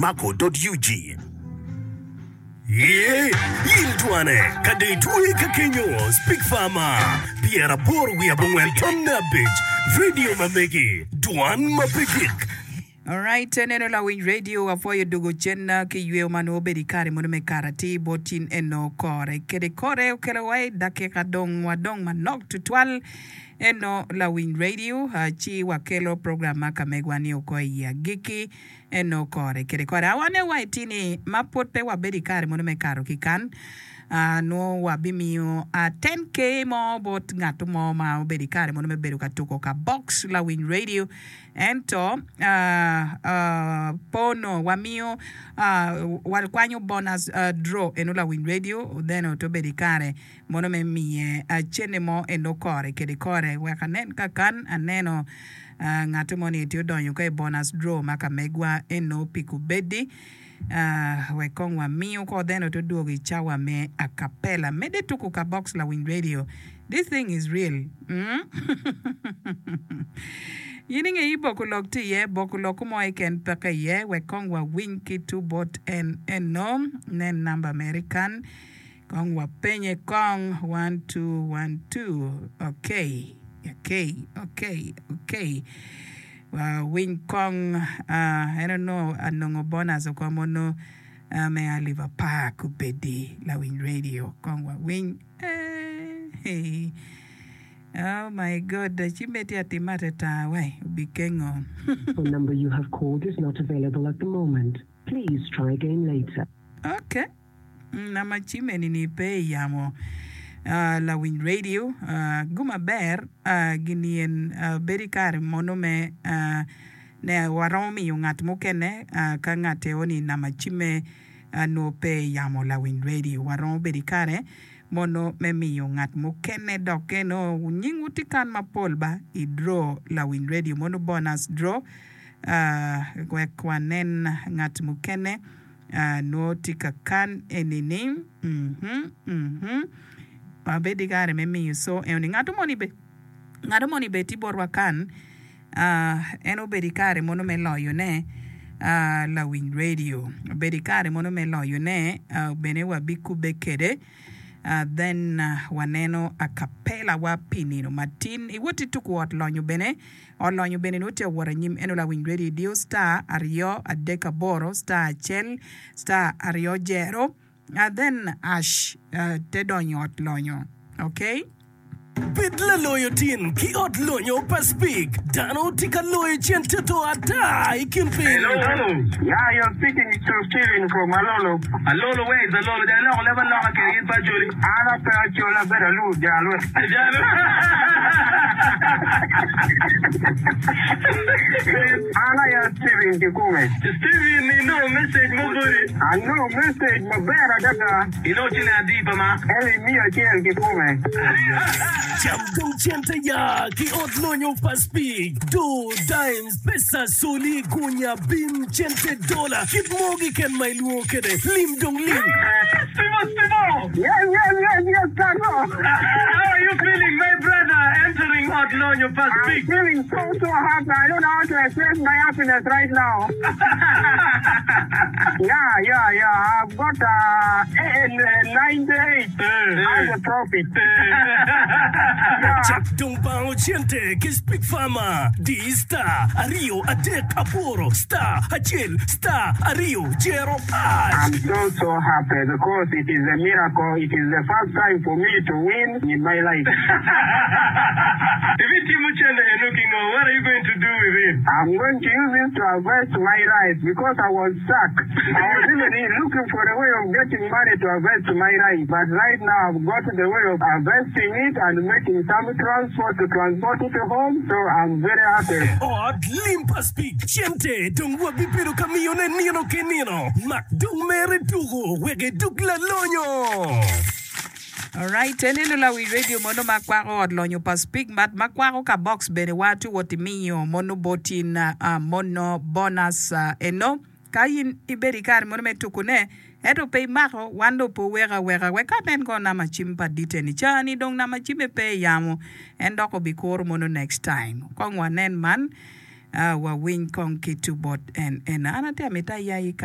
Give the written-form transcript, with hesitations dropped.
Mako dot ug. Ye, in twane, ka dong itwoye ka kenyo, Speak Farmer, 89 tonne abic, radio ma megi, dwan ma pe gik. Alright, eneno lawiny radio apwoyo dugo cen ki yweo ma nongo obedo ikare mono me kato atir bot in eno kore kede kore okelo wa i dakika dong wadong manok tutwal eno lawiny radio ci wakelo program ma ka megwa ni oko i agikki Eno kore kede kore. Awane wa i tini ma pwod pe wabedo i kare mono me kato ki kan, nwo wabimiyo 10K mo bot ngat mo ma obedo i kare mono me bedo ka tuko ka box lawiny radio. Ento pe onongo wamiyo wakwanyo bonus draw eno lawiny radio then ote obedo i kare mono me miye cene mo eno kore kede kore wek anen ka kan aneno Ngat mo ni tye odonyo ka i bonus draw ma ka megwa eno pi kubedi wek kong wamiu ko then ote odwogo i cawa me acapella. Medde tuku ka box lawiny radio. This thing is real. In inge i boko lok tye iye, boko lok mo keken peke iye wek kong wawiny ki tu bot en eno. Nen number mere kan. Kong wapenye kong, one, two, one, two, okay, okay, okay, okay. Wawiny kong, ah, en onongo anongo bonus oko mono ah, me alip apar kubedi lawiny radio. Kong wawiny. Eh, hey. Oh my God, ci miti atima atata wai, obikengo. Phone number you have called is not available at the moment. Please try again later. Okay. Nama cim eni ni pe i yamo lawiny radio gu maber gini en bedo i kare mono me ne waromo miyo ngat mukene ka ngat eo ni nama cimme nwo pe i yamo lawiny radio waromo bedo i kare mono me miyo ngat mukene dok eno nyingwu tye kan mapol ba i draw lawiny radio mono bonus draw wek wanen ngat mukene. Nwo tye ka kan eni ni mhm mhm wabed ki kare me miyo co eno ni ngato moni be ngato moni be tye botwa kan en obedo i kare mono me loyo ne lawiny radio obedo i kare mono me loyo ne bene wabikube kede then waneno acapella wa pi nino matin iwoti tuku ot lonyo bene Olonyo bene nongo tye ka wot anyim ento lawiny radio idiyo star aryo adek aboro star acel star aryo jero then ash te donyo ot lonyo ok. Bed laloyo tin ki ot lonyo pa Speke. Dano tye ka loyo cente to ata i kin piny. Hello, hello. Yeah, you're speaking to Steven from Alolo. Alolo, where is Alolo? Dong iloko leb aloka kede in pe Acholi. An ape Acholi, abedo Alur Jalwe. Jalo. An aye Steven kikome. Steven, inongo message mo boti? Anongo message maber adada. Inongo ciling adi pa ma? Eli miya acel kikome. Cam dong cente ya ki ot lonyo pa Speke, doo, dimes, pesa, soli, gunya, bim, cente, dola, kit mo kiken ma ilwongo kede, lim dong lim. Steve-o, Steve-o! Yes, yes, yes, yes, Kato! How are you feeling my brother entering ot lonyo pa I'm Speke? feeling so, so happy. I don't know how to express my happiness right now. Yeah, yeah, yeah. I've got uh, 98 as a profit. Yeah. Cak dong bango cente ki Speak Farmer. Di star aryo adek aboro star acel star aryo jero ash. I'm so so happy because it is a miracle. It is the first time for me to win in my life. Ibitimo cente eno ki ngo? What are you going to do with it? I'm going to use it to harvest my rice because I was stuck. I was even looking for a way of getting money to harvest my rice, but right now I've got the way of harvesting it and making some transport to transport it home, so I'm very happy. Ot lim pa Speke cente dong wabibedo ka miyone nino ki nino. Mak dong mere tuku wek idug lalonyo. Alright, eneno lawi radio mono ma kwako ot lonyo pa Speke but ma kwako ka box bene wa tye wot imiyo mono bot in mono bonus eno. Ka in ibedo i kare mono me tukune, ento pe imako, wan dong pe wuweko aweka. Wek anen kono nama cim pa ditte-ni. Ca-ni dong nama cimme pe i yamo, en dok obikuro mono next time. Kong wanen man, wawiny kong ki tu bot en ena. An atye amito ayayi ka.